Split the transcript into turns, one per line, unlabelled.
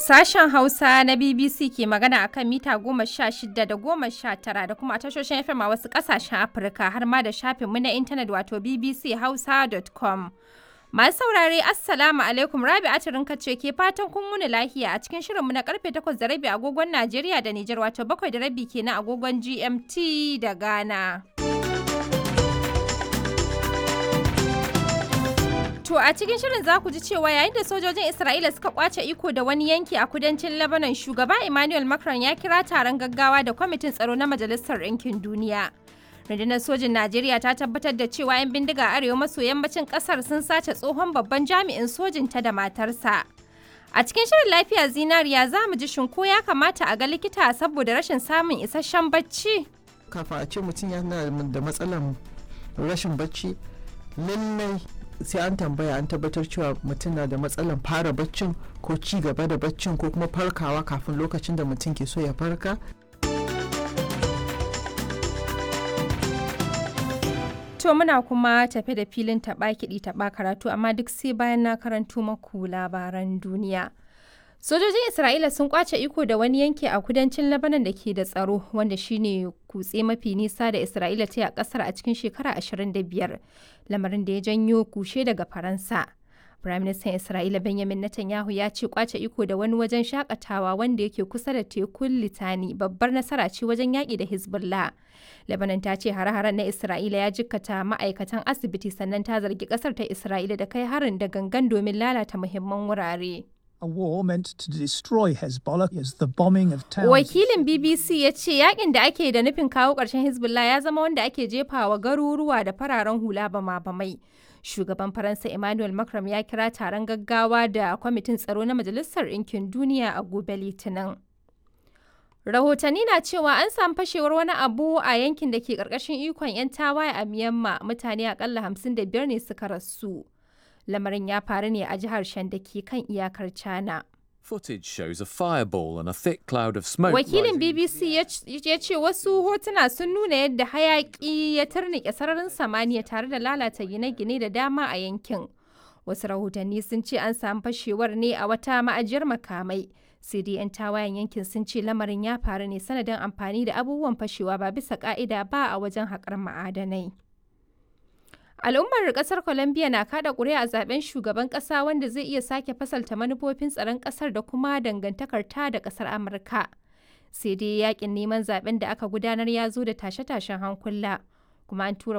Sashen Hausa na BBC ke magana a kan mita 16 da 19 da kuma a tashoshin FM a wasu ƙasashen Afirka har ma da shafinmu na intanet wato bbchausa.com. Masu saurare Assalamu alaikum, Rabi Atirinka ce ke fatan kun wuni lahiya a cikin shirinmu na karfe 8:30 agogon Najeriya da Nijar, wato 7:30 kenan agogon GMT da Ghana. To a cikin shirin za ku ji cewa yayin da sojojin Isra'ila suka kwace iko da wani yanki a kudancin Lebanon, shugaba Emmanuel Macron ya kira taron gaggawa da kwamitin tsaro na Majalisar Ɗinkin Duniya. Rundunar sojin Najeriya ta tabbatar da cewa 'yan bindiga arewa maso yammacin ƙasar sun sace tsohon babban jami'in sojin ta da matarsa. A cikin shirin lafiya zinariya za mu ji shin ko ya kamata a ga likita saboda rashin samun isasshen bacci.
Kafin a ce mutum yana da matsalar rashin bacci, lallai sai an tambaya an tabbatar cewa mutum na da matsalan fara baccin ko ci gaba da baccin ko kuma farkawa kafin lokacin da mutum ke so ya farka.
To muna kuma tafe da filin taɓa kiɗi taɓa karatu, amma duk sai bayan na karanto maku labaran duniya. Sojojin Isra'ila sun kwace iko da wani yanki a kudancin Lebanon da ke da tsaro, wanda shine kutse mafi nisa da Isra'ila ta yi a kasar a cikin shekara 25, lamarin da ya janyo kushe daga Faransa. Firaministan Isra'ila Benjamin Netanyahu ya ce kwace iko da wani wajen shakatawa wanda yake kusa da tekun Litani babbar nasara ce wajen yaƙi da Hezbollah. Lebanon ta ce hare-haren na Isra'ila ya jikkata ma'aikatan asibiti, sannan ta zargi ƙasar ta Isra'ila da kai harin da gangan domin lalata muhimman wurare.
A war meant to destroy Hezbollah is the bombing of towns.
Wakilin BBC ya ce yakin da ake da nufin kawo ƙarshen Hezbollah ya zama wanda ake jefawa garuruwa da fararen hula bama-bamai. Shugaban Faransa Emmanuel Macron ya kira taron gaggawa da kwamitin tsaro na Majalisar Ɗinkin Duniya a gobe Litinin. Rahotanni na cewa an samu fashewar wani abu a yankin da ke ƙarƙashin ikon 'yan tawaye a Myanmar, mutane akalla 55 ne suka rasu. Lamarin ya faru ne a jihar Shan da ke kan iyakar China.
Footage shows a fireball and a thick cloud of smoke.
Wakilin BBC ya ce wasu hotuna sun nuna yadda hayaki ya turnike sararin samaniya tare da lalata gine-gine da dama a yankin. Wasu rahotanni sun ce an samu fashewar ne a wata ma'ajiyar makamai. Sai dai 'yan tawayen yankin sun ce lamarin ya faru ne sanadin amfani da abubuwan fashewa ba bisa ka'ida ba a wajen haƙar ma'adanai. Al'ummar kasar Colombia na kada ƙuri'a a zaben shugaban ƙasa wanda zai iya sake fasalta manufofin tsaron ƙasar da kuma dangantakar ta da ƙasar Amurka. Sai dai yakin neman zaben da aka gudanar ya zo da tashe-tashen hankula. Kuma an tura